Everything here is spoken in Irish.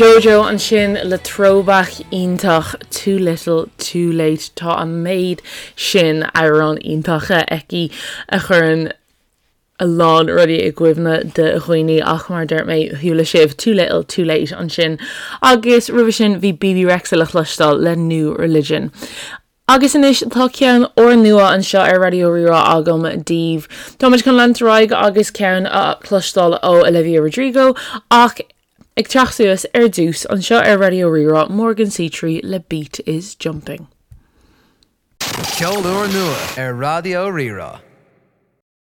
JoJo ansin le throwback iontach Too Little Too Late. Tá an méid sin amhrán iontacha aici a chuireann a lán rudaí i gcuimhne do dhaoine ach mar a dúirt mé, chuala sibh Too Little Too Late ansin agus roimhe sin bhí Bebe Rexha le cloisteáil le New Religion. Agus anois tá ceann úrnua anseo ar Raidió Rí-Rá agam daoibh. Táimid chun leanúint ar aghaidh agus ceann a chloisteáil ó Olivia Rodrigo ach ag teacht suas ar dtús anseo ar Raidió Rí-Rá, Morgan C3 le Beat is Jumping. Ceol úrnua ar Raidió Rí-Rá.